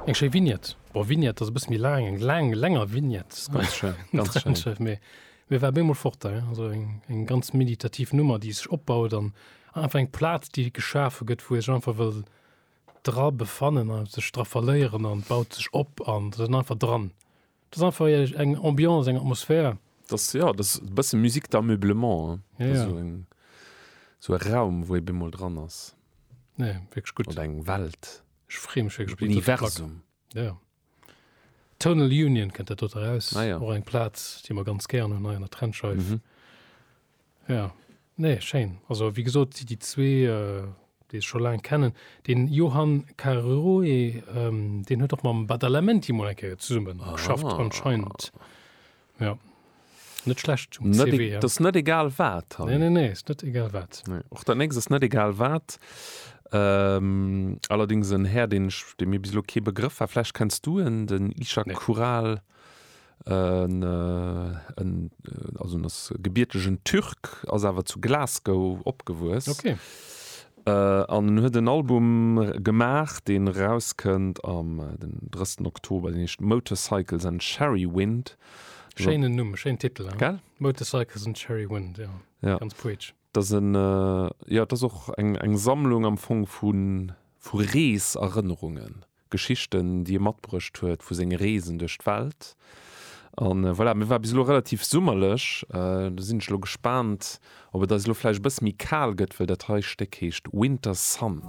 Eng schéi Vignette. Bon, Vignette ass e bësse méi laang, eng laang, länger Vignette. Ganz schéin, ganz schéin. Mee mir war bemol fort da, also eng, eng ganz meditativ Nummer, déi sech opbaut an einfach eng Plaz, déi geschafe gëtt, wou ee sech einfach wëll dra befannen a sech dra verléieren an baut sech op an et ass einfach dran. Dat ass einfach eng Ambiance, eng Atmosphär. Dat ass, jo, dat ass e bësse Musique d'ameublement, hein. Ja, ja. Esou eng, esou e Raum, wou ee bemol dran ass. Nee, wierklech gutt. Oder eng Welt. Ech freeë mech wierklech op déi dote Plack. Universum. Ja. Tonal Union kënnt dat dote eraus. Ah, ja. Och eng Plaz, déi mer ganz gären hunn hei an der Trendscheif. Mhm. Ja, nee, schéin. Also wéi gesot, déi zwee, déi ech scho laang kennen, den Johann Caroe, deen huet och mam Badalamenti mol eng Kéier zesumme geschafft anscheinend. Ja, net schlecht um CV. Dat ass net egal wat. Nee, nee, nee, ass net egal wat. Nee, och dat nächst ass net egal wat. Allerdings en Här, deen ech, dee mir bis elo kee Begrëff war. Vläicht kenns du en, den Ishak Kural. En, en, also en ass gebiertegen Türk, ass awer zu Glasgow opgewuess. Okay. An en huet en Album gemaach, deen erauskënnt am den 30. Oktober, deen heescht Motorcycles and Sherry Wind. Schéinen Numm, schéinen Titel, hein? Gell? Motorcycles and Sherry Wind, ja. Ja. Ganz poetesch. Dat ass en, jo, dat ass och eng, eng Sammlung am Fong vu, vu Reeserënnerungen. Geschichten, déi e matbruecht huet vu senge Reesen duerch d'Welt. An voilà, mir war bis elo relativ summerlech. Do sinn ech elo gespaant, ob et eis elo vläicht e bësse méi kal gëtt, well dat hei Stéck heescht Winter Sun.